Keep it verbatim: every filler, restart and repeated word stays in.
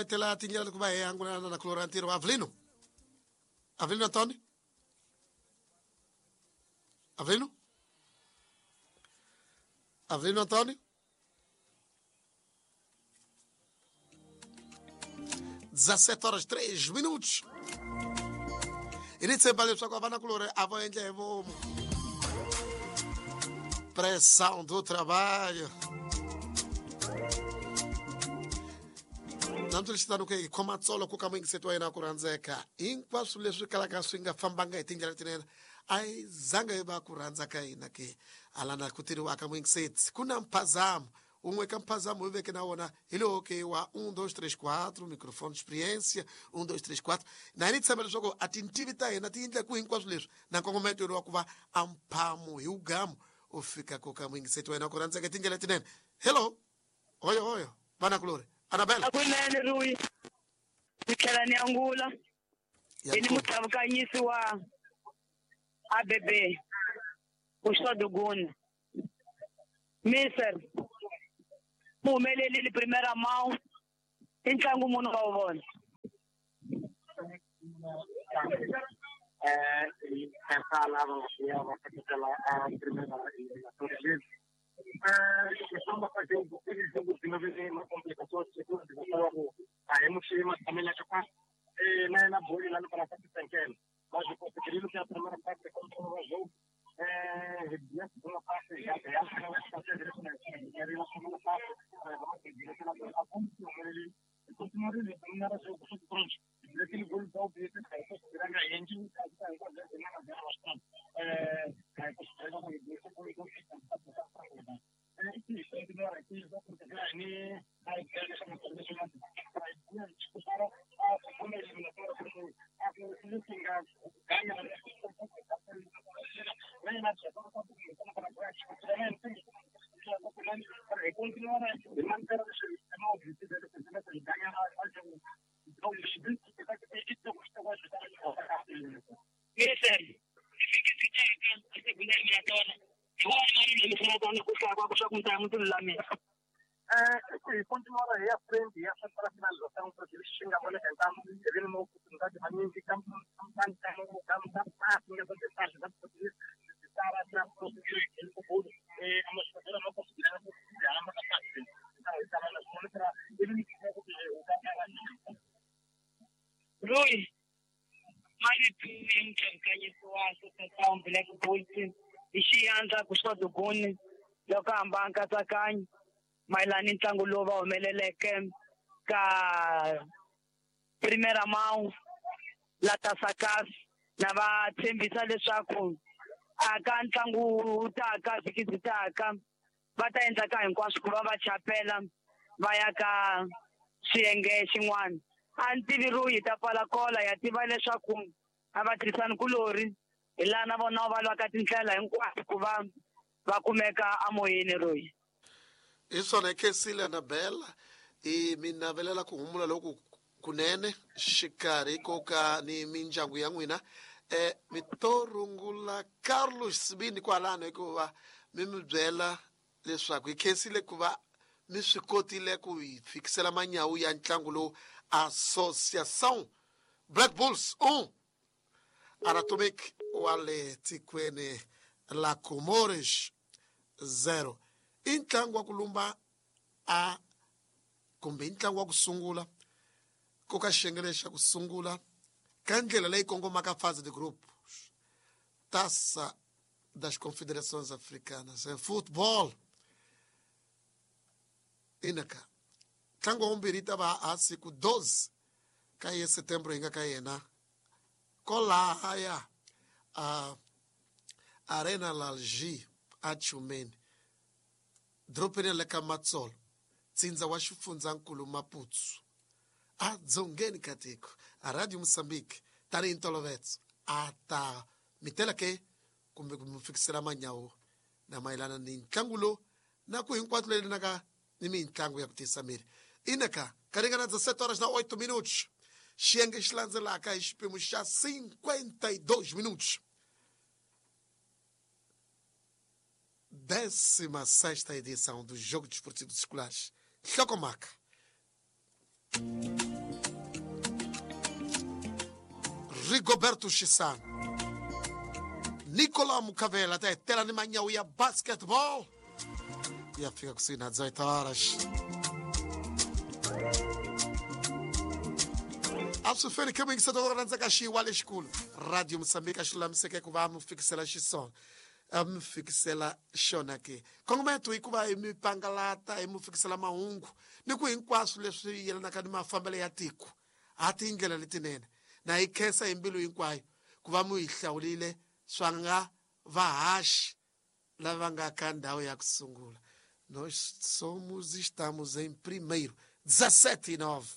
Tela tindlela ku va hi angulana na Clorantiro Avelino. Avelino Antônio? Avelino? Avelino Antônio? dezessete horas três minutos. E nem sempre leswaku a vana kulori a va endla hi vomu. Pressão do trabalho. Namtulixitano ke hi khoma tsolo ku ka muyingiseti wa yena ku rhandzeka hinkwaswo leswi kalaka swi nga fambanga hi tindlela letinene a yi zanga yi va ku rhandza ka hina ke alana ku tirhiwaka muyingiseti ku na mphazamo un'we ka mphazamo hi veke na wona hi lowo ke wa um dois três quatro microfone experiência um dois três quatro na hina hi tshemba leswaku a tintivi ta hina ti endla ku hinkwaswo leswi na nkongometo wa ku va a mphamo hi wugamu u fika ku ka muyingiseti wa yena ku rhandzeka hi tindlela letinene. Hello, hoyo hoyo vanakulori Anabela. Akunene Rui. Ni tlhela ni angula. Hi ni muthavukanyisi wa A B B. Uxoduguna. Mister Muhumeleli primeira mão. I ntlangu munhu wa vona. Eh, essa lava ya va seketela a primeira eliminatória. Eh, estamos fazendo aquele jogo de novo uma complicação de segundo, a emoção também lá que eh na na bola lá no para fazer mas conseguiram que a primeira parte contra o jogo eh a segunda parte já já fazer direto na era a segunda parte vamos direto na a ponto ele continuar ele não era jogo pronto aquele gol da O B grande engine eh Mister, a segunda eliminatória. Eh, continuar aí à frente, essa para a finalização, para que eles cheguem a bola tentando, ele não oportunidade de mim, que campo, campo, campo, campo, Rui, Associação Black Bulls i xiandla ku xoduguni loko hamba nkatsakanyo mayelana ni ntlangu lowu va humeleleke ka Primeira Mão la Tasakas na va tshembisa leswaku aka ntlangu wu taka vhiki byi taka va ta endla ka hinkwaswo ku va va chapela va ya ka xiyenge xin'wana. A ni tivi Rui hi ta pfala kola ya tiva leswaku a va tirhisani kulori hi laha na vona va lwaka tindlela hinkwato ku va va kumeka amoyeni Rui. Hi swona khensile Anabela i mi navelela ku humula loku kunene xikarhi ko ka ni mindyangu ya n'wina eh mi to rungula Carlos Sibini kwalano hikuva mi mi byela leswaku hi khensile ku va mi swi kotile ku hi fikisela manyawu ya ntlangu lowu Associação Black Bulls um Anatomic wa le tikweni la Comores zero. I ntlangu wa ku lumba a kumbe i ntlangu wa ku sungula ko ka xiyenge xa ku sungula ka ndlela leyi kongomaka fase de grupo Taça das Confederações Africanas em futebol. Inaka ntlangu wa vumbirhi ta va a siku doze ka ye setembro hi nga ka yena kolahaya a Arena Lalji a Chumeni dropeni le ka Matsolo tsindza wa xifundzankulu Maputo a dzongeni ka tiko a Radio Moçambique tanihi ntolovelo a ta mitela ke kumbe ku mi fikisela manyawu na mayelana ni ntlangu lowu na ku hinkwato leyi naka ni mintlangu ya ku tiyisa miri. Inaka ka ringana dezessete horas na oito minutos xiyenge xi landzelaka hi xipimo xa cinquenta e dois minutos. Décima sexta edição do Jogo Desportivo Escolares. Hlokomaka. Rigoberto Chissano, Nicolau Mucavela ta hetela ni manyawu ya basketball ya fika kusuhi na dezoito horas. A swi feli khe muyingiseti wa rhandza xiwa lexikulu Radio Moçambique a xi lulamiseke ku va mi fikisela xisona a mi fikisela xona ke kongometo i ku va hi mi pangalata hi mi fikisela mahungu ni ku hinkwaswo leswi yelanaka ni mafambelo ya tiko ha tindlela letinene na hi khensa hi mbilu hinkwayo ku va mu hi hlawulile swa nga vahaxi lava nga ka ndhawu ya ku sungula. Nós somos, estamos em primeiro, dezassete e nove.